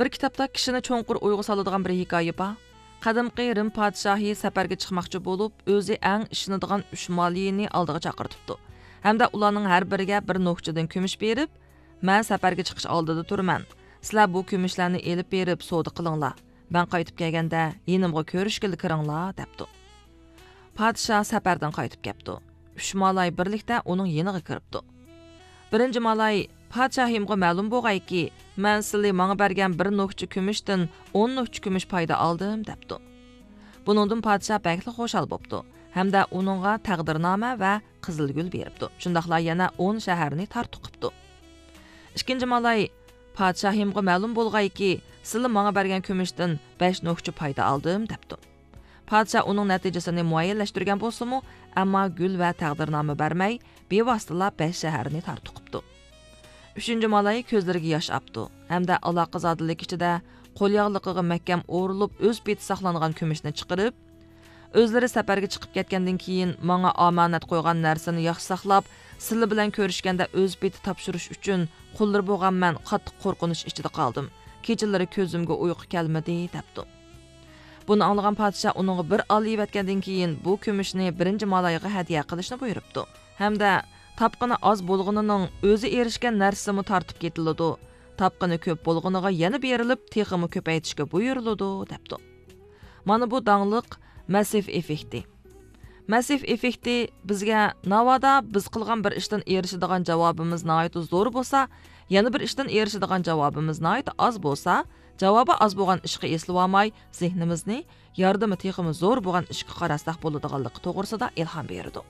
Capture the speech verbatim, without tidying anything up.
بىر كىتابتا كىشىنى چوڭقۇر ئويغا سالىدىغان بىر ھېكايە بار. قەدىمكى رىم پادىشاھى سەپەرگە چىقماقچى بولۇپ، ئۆزى ئەڭ ئىشىنىدىغان ئۈچ مالىيىنى ئالدىغا چاقىرتىپتۇ ھەمدە ئۇلارنىڭ ھەر بىرىگە بىر نوخچىدىن كۈمۈش بېرىپ، مەن سەپەرگە چىقىش ئالدىدا تۇرىمەن. سىلەر بۇ كۈمۈشلەرنى ئېلىپ بېرىپ سودا قىلىڭلار. مەن قايتىپ كەلگەندە يېنىمغا كۆرۈشكىلى كىرىڭلار، دەپتۇ. پادىشاھ سەپەردىن قايتىپ كەپتۇ. ئۈچ مالاي بىرلىكتە ئۇنىڭ يېنىغا كىرىپتۇ. بىرىنچى مالاي، پادىشاھىمغا مەلۇم بولغايكى، مەن سىلى ماڭا بەرگەن بىر نوخچا كۈمۈشتىن ئون نوخچا كۈمۈش پايدا ئالدىم، دەپتۇ. بۇنىڭدىن پادىشاھ بەكلا خۇشال بوپتۇ ھەمدە ئۇنىڭغا تەقدىرنامە ۋە قىزىل گۈل بېرىپتۇ. شۇنداقلا يەنە ئون شەھەرنى تارتۇق قىپتۇ. ئىككىنچى مالاي، پادىشاھىمغا مەلۇم بولغايكى، سىلى ماڭا بەرگەن كۈمۈشتىن بەش نوخچا پايدا ئالدىم، دەپتۇ. پادىشاھ ئۇنىڭ نەتىجىسىنى مۇئەييەنلەشتۈرگەن بولسىمۇ، ئەمما گۈل ۋە تەقدىرنامە بەرمەي، بىۋاسىتىلا بەش شەھەرنى تارتۇق قىپتۇ. ئۈچىنچى مالاي كۆزلىرىگە ياش ئاپتۇ ھەمدە ئالاقىزادىلىك ئىچىدە قولياغلىقىغا مەھكەم ئورىلىپ، ئۆز پېتى ساقلانغان كۈمۈشنى چىقىرىپ، ئۆزلىرى سەپەرگە چىقىپ كەتكەندىن كېيىن، ماڭا ئامانەت قويغان نەرسىنى ياخشى ساقلاپ، سىلى بىلەن كۆرۈشكەندە ئۆز پېتى تاپشۇرۇش ئۈچۈن قۇللىرى بولغان مەن قاتتىق قورقۇنچ ئىچىدە قالدىم. كېچىلىرى كۆزۈمگە ئۇيقۇ كەلمىدى، دەپتۇ. بۇنى ئاڭلىغان پادىشاھ ئۇنىڭغا بىر ئالىيىۋەتكەندىن كېيىن، بۇ كۈمۈشنى بىرىنچى مالايغا ھەدىيە قىلىشنى بۇيرۇپتۇ ھەمدە تاپقىنى ئاز بولغىنىنىڭ ئۆزى ئېرىشكەن نەرسىمۇ تارتىپ كېتىلىدۇ، تاپقىنى كۆپ بولغىنىغا يەنە بېرىلىپ، تېخىمۇ كۆپەيتىشكە بۇيرۇلىدۇ، دەپتۇ. مانا بۇ داڭلىق مەسسىف ئېففېكتى. مەسسىف ئېففېكتى بىزگە ناۋادا بىز قىلغان بىر ئىشتىن ئېرىشىدىغان جاۋابىمىز ناھايىتى زور بولسا، يەنە بىر ئىشتىن ئېرىشىدىغان جاۋابىمىز ناھايىتى ئاز بولسا، جاۋابى ئاز بولغان ئىشقا ئېسىلىۋالماي، زېھنىمىزنى ياردىمى تېخىمۇ زور بولغان ئىشقا قاراتساق بولىدىغانلىقى توغرىسىدا ئىلھام بېرىدۇ.